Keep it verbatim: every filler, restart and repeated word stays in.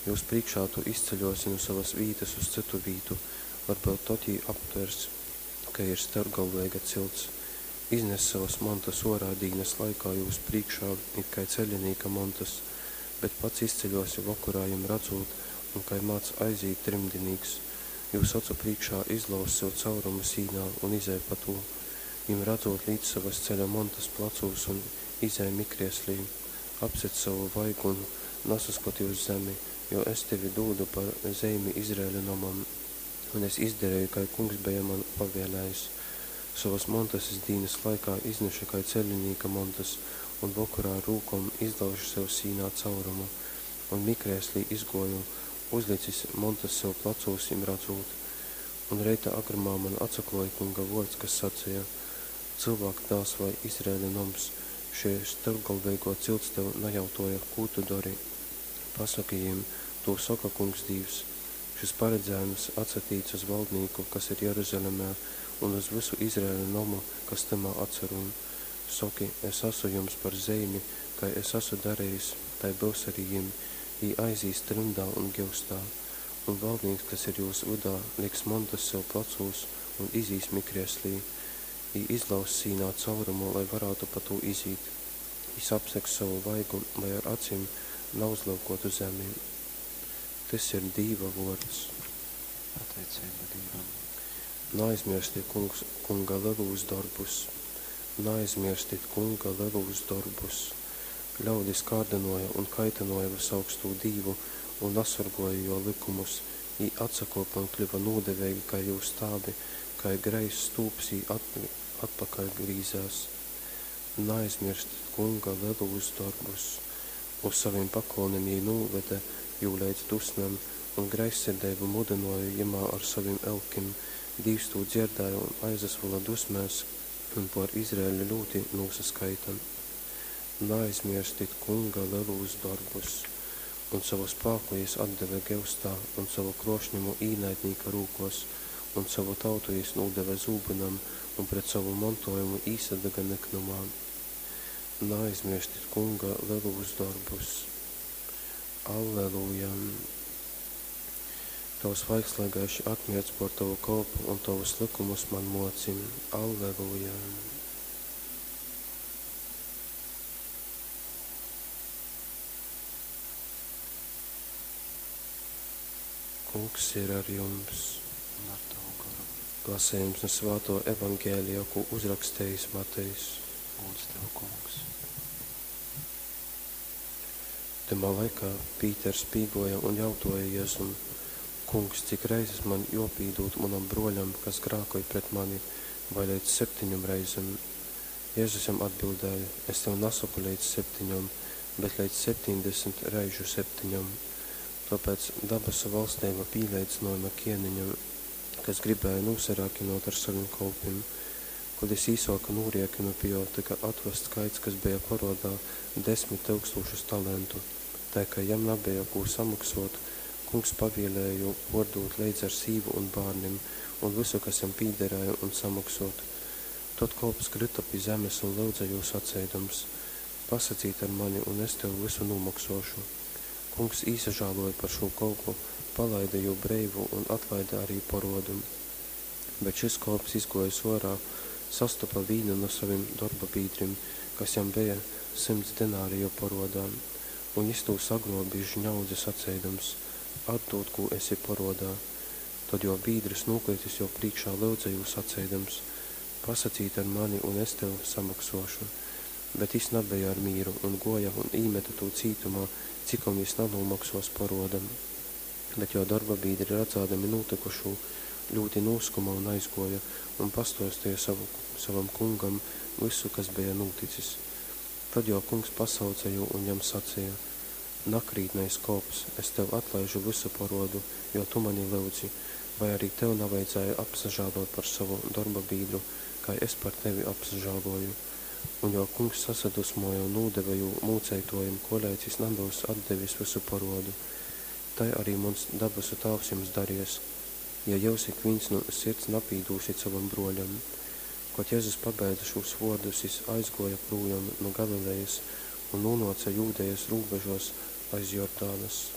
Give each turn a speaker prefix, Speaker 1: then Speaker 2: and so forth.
Speaker 1: Jūs prīškā tu izceļōsi nu sovas vītas uz cytu vītu, varbyut tod jī aptvers, ka ir storpgalveiga cilts. Iznes sovas montas ōrā dīnas laikā jūs prīškā it kai ceļinīka montas, bet pats izceļōsi vokorā jim radzūt un, kai mādz aizīt trimdinīks, jūs ocu prīškā izlauz sev caurumu sīnā un izej pa tū. Jim radzūt lic sovas ceļa montas placūs un izej mikrieslī. Apsedz sovu vaigu un nasaskoti uz zemi, jo es tevi dūdu par zeimi Izraeļa nomam. Un es izdareju, kai Kungs beja man pavēlējis. Sovas montas es dīnas laikā iznešu kai ceļinīka montas un vokorā ar rūkom izlaužu sev sīnā caurumu un mikrēslī izgōju, uzlicis montas sev placūs jim radzūt. Un reita agrumā man atsaklōja Kunga vōrds, kas saceja: Cylvāka dāls, vai Izraeļa noms, šei storpgalveigō cilts tev najautōja, Kū tu dori? Pasoki jim, Tū soka Kungs Dīvs, Šys paredzējums atsatīc uz valdnīku, kas ir Jeruzalemē, un uz vysu Izraeļa nomu, kas tymā atsarūn. Soki, Es asu jums par zeimi, kai es asu darejis, tai byus ari jim, jī aizīs trymdā un gyustā. Un valdnīks, kas ir jūs vydā, liks montas sev placūs un izīs mikrieslī. Jī izlauzs sīnā caurumu, lai varātu pa tū izīt. Jys apsegs sovu vaigu, lai ar acim nauzlyukōtu zemi. Tys ir Dīva vōrds.
Speaker 2: Pateiceiba Dīvam.
Speaker 1: Naaizmierstit kungs, Kunga lelūs dorbus. Naaizmierstit Kunga lelūs dorbus. Ļaudis kārdynōja un kaitynōja Vysaugstū Dīvu un nasorgōja jō lykumus, jī atsakōpe un kļyva nūdeveigi kai jūs tāvi, kai greizs stūps jī atpakaļ grīzēs. Naaizmierstit Kunga lelūs dorbus. Uz sovim pakolnim jī nūvede jū leidz dusmem un greizsirdeibu mudynōja jymā ar sovim elkim, Dīvs tū dzierdēja un aizasvyla dusmēs un pōr Izraeļu ļūti nūsaskaita. Naaizmierstit Kunga lelūs dorbus. Un sovu spāku jys atdeve gyustā un sovu krōšņumu īnaidnīka rūkōs, un sovu tautu jys nūdeve zūbynam un pret sovu montōjumu īsadaga nyknumā. Naaizmierstit Kunga lelūs dorbus. Alleluja! Tovs vaigs lai gaiši atmirdz pōr tovu kolpu un tovus lykumus man mōci. Alleluja! Kungs ir ar jums.
Speaker 2: Un ar tavu goru.
Speaker 1: Lasījums no Svāto evaņģēlija, ko uzrakstījis Matejs.
Speaker 2: Lūdzu tev, Kungs.
Speaker 1: Tymā laikā Pīters pīgōja un jautōja Jezum: Kungs, cik reizes man jōpīdūd munam brōļam, kas grākoj pret mani, vai leidz septeņom reizem? Jezus jam atbildēja: Es tev nasoku leidz septeņom, bet leidz septiņdesmit reižu septeņom. Tōpēc dabasu valsteiba pīleidzynojama kēneņam, kas gribēja nūsarēkinōt ar sovim kolpim. Kod jys īsōka nūriekinu, pi jō tyka atvasts kaids, kas beja porōdā desmit tyukstūšas talentu. Tai kai jam nabeja kū samoksōt, kungs pavielēja jū pōrdūt leidz ar sīvu un bārnim, un vysu, kas jam pīdarēja, un samoksōt. Tod kolps kryta pi zemes un lyudze jū saceidams: Pasacīt ar mani, un es tev vysu nūmoksōšu. Kungs īsažālōja par šū kolpu, palaide jū breivu un atlaide ari porōdu. Bet šys kolps, izgōjis ōrā, sastopa vīnu nu sovim dorbabīdrim, kas jam beja symts denariju porōdā. Un jys tū sagrōbis žņaudze saceidams: Atdūd, kū esi porōdā. Tod jō bīdrs, nūkritis jō prīškā, lyudze jū saceidams: Pasacīt ar mani, un es tev samoksōšu. Bet jys nabeja ar mīru, un gōja un īmete tū cītumā, cikom jys nanūmoksōs porōda. Bet jō dorbabīdri, radzādami nūtykušū, ļūti nūskuma un aizgōja, un pastōsteja sovu, sovam kungam vysu, kas beja nūticis. Tod jō kungs pasauce jū un jam saceja: Nakrītnais kolps, es tev atlaižu vysu porōdu, jo tu mani lyudzi, vai ari tev navajadzēja apsažālōt par sovu dorbabīdru, kai es par tevi apsažālōju? Un jō kungs sasadusmōja un nūdeve jū mūceitōjim, koleidz jys nabyus atdevis vysu porōdu. Tai ari muns dabasu Tāvs jums daries, ja jyus ikvīns nu sirds napīdūsit sovam brōļam. Kod Jezus pabeidze šūs vōrdus, jys aizgōja prūjom nu Galilejas un nūnōce Jūdejas rūbežōs aiz Jordanas.